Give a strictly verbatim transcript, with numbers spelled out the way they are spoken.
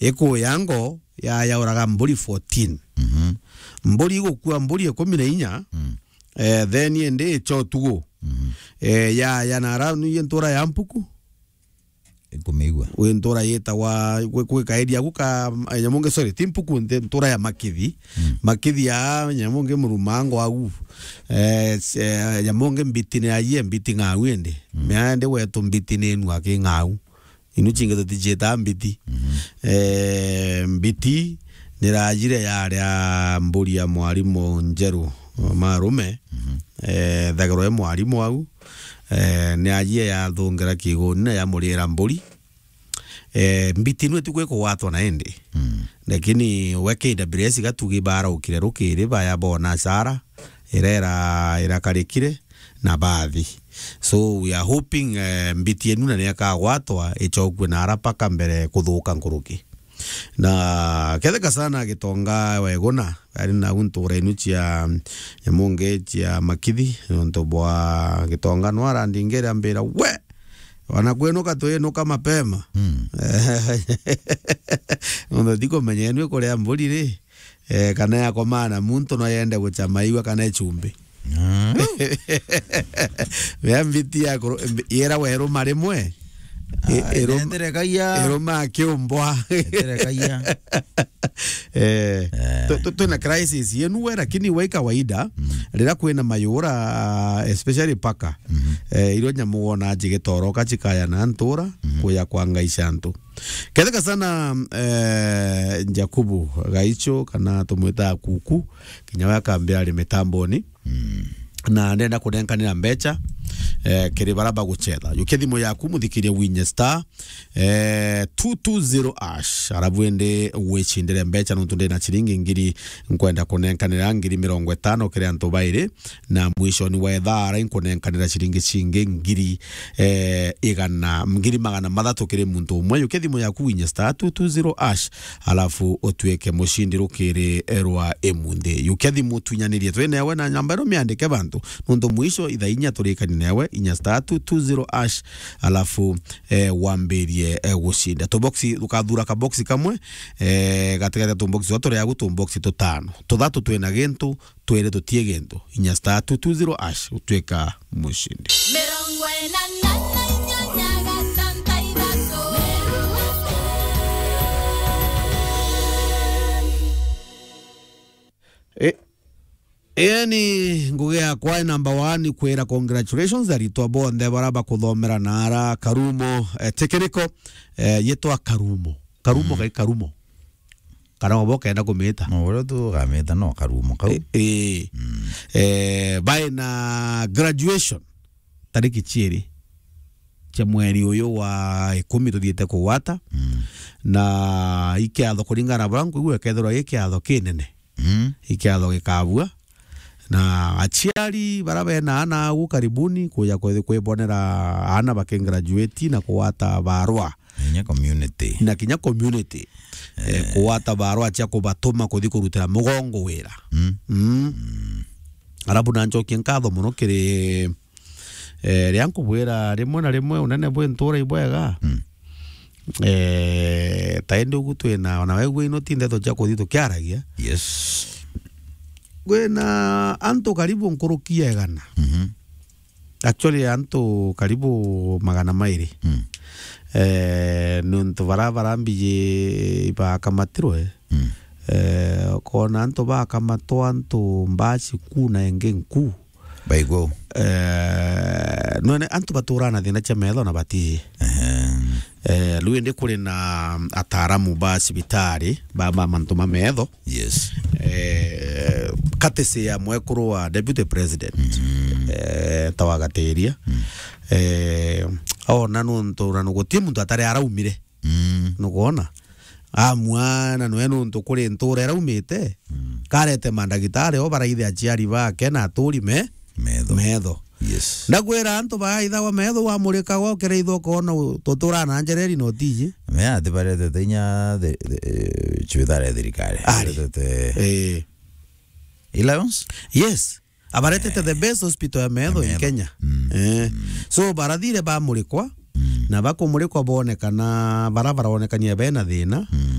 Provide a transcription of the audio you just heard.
ikuya ngo, ya, yauraga mburi fourteen. Mhm. Mburi igukua mburi ikumi na inya, mm, eh, then indi icha utugu. Mhm. Eh, ya, ya nara ni ntura ya Mpuku. Nkumigua. Wi ntura yitagwa, gwi, gwi kaeri aku ka, eh, nyamu ngi, sorry, ti Mpuku, nti ntura ya Makithi. Mm. Makithi ya nyamu ngi Murumango au. Eh, s-, eh, nyamu ngi Mbiti ni ajie, Mbiti ng'au indi. Mm. Mea ndi wetu Mbiti ni inua ki ng'au. Inu cingi tutijitaa Mbiti. Mhm. Eh, Mbiti ni rajire yaria mburi ya mwarimu Njeru Marume. Mhm. Eh, thagirwa e mwarimu au. Eh, ni ajie yathungira kiguni na yamurira mburi. Eh, Mbiti nwe ti gwi kugwatwa na indi. Mm. Lakini we K W S gatugi baraukire rukiri, baya bona sara, irera irakarikire na bathi. So we are hoping, eh, Mbiti enu na ni akagwatwa, icokue na ara paka mbere kuthuka nkuruki. Na ketheka sana Gitonga weguna, ari na untu ura inu cia, nyamu ngi cia Makithi, nontu bwa Gitonga no arandingire ambira, "We! Wana kwinuka twinuka mapema." Mm. Nontu ndikumenya enu ikuria mburi ri, eh, kana yakomana muntu no yende guchama igua kana ichumbi. Mm. Mea Mbiti ya kuru-, mbi-, yera weruma rimwe. I-, Ah, irum-, eterekagia. Iruma akiumbwa. Eterekagia. Eh, eh, tu-, tu-, twina crisis yenu we, lakini we kawaida, mm, riria kwina mayura, especially paka, mhm, eh, irio nyamu wona jigitoroka cikaya na ntura, mhm, kuya kwa ngai cia antu. Ketheka sana, eh, Jakubu Gaicho, kana tumwita Kuku, kinya we akambia ari mitamboni. Mm. Na ndenda kunenkanira mbecha, eh, kiri bara bagucetha. Yukia thimu yaku, muthikirie winye star, eh, two two zero ash. Arabu indi wicindire mbecha, nontu ndina ciringi ngiri nkwenda kunenkanira ngiri mirongo itano kiri antu bairi, na mwishoni wa ithaa ara inkunenkanira ciringi cingi ngiri, eh, igana, ngiri magana mathatu kiri muntu umwe. Yukia thimu yaku winye star two two zero ash, alafu utuike mucindi rukiri rwa imunthi. Yukia thimu tunyanirie twi newe na namba ino miandike bantu. Nontu mwisho ithaa inya turikani newe, inya star two two zero ash, alafu, eh, wambirie, eh, gucinda. Tuboxi, ukathura kaboxi kamwe, eh, gatigati ya tuboxi twa turi agu tuboxi tutano. Tuthatu twina gintu, twiri tutie gintu. Inya star two two zero ash, utwika mucindi. Mirongo ina na inyanya gatanta ithatu. E-, yani, ngugi yakwa i number one, kwira congratulations aritwa bonthe bara bakuthomera na ara Karumo, eh, Technical, eh, yitwa Karumo. Karumo, mm, kai Karumo. Kana obo kenda kumita. No, uria tu ugamita no Karumo kau. E-, e. Mm. Eh, bai na graduation tariki ciiri cia mweri uyu wa ikumi tuthiite kugwata. Mm. Na ikiatho kuringana na buria nkuigua ikethirwa i kiatho kinene. Mm. Ikiatho gikabua. Na aciari bara bena ana au karibuni kuja kwi-, kwibonera ana bakigraduate na kugwata barua. Na kinya community. Na kinya community. Eh, eh, kugwata barua cia kubatuma kuthi kurutira mugongo wira. Mm. Mm. Mm. Arabu na ncokie nkatho muno kiri, eh, ria nkubwira rimwe na rimwe unene bwi ntura ibwega. Mm. Eh, ta indi ugu twina, ona wegua ino ti ndeto cia kuthi tukiaragia. Yes. Kwina antu karibu nkuruki ya igana. Mhm. Actually, antu karibu magana mairi. Mm. Eh, nontu bara, bara mbiji ibakamatirwe. Mm. Eh, ukona antu bakamatwa, antu mbaci ku na ingi nku. Baigua. Eh, nwene antu baturaa na thina cia metho na batiji. Ehe. Eh, riu indi kuri na ataaramu ba cibitari, ba, ba mantu ma metho. Yes. Eh, courtesy ya mwekuru wa deputy president, mm, eh, ta wa Gatiria. Mm. Eh, ona nontu na nuguti muntu atari araumire. Mm. Nukwona? Amwana nwe nontu kuri ntura iraumite, mm, karete mandagitari o baraithe aciari bake na aturi me metho. Metho. Yes. Ndakwira antu baithawa metho, wamurika gwa ukiraitha ukoona u-, tutura na njereri na utiji. Me ati baretete inya the, the, eh, cibitari ya thirikari. Ari. Baretete, eh, Alliance? Yes. Abaretete, eh, the best hospital ya metho, ya in metho. Kenya. Mm. Eh. Mm. So barathire bamurikwa, mm, na bakumurikwa bonekana bara baronekania bena thina. Mm.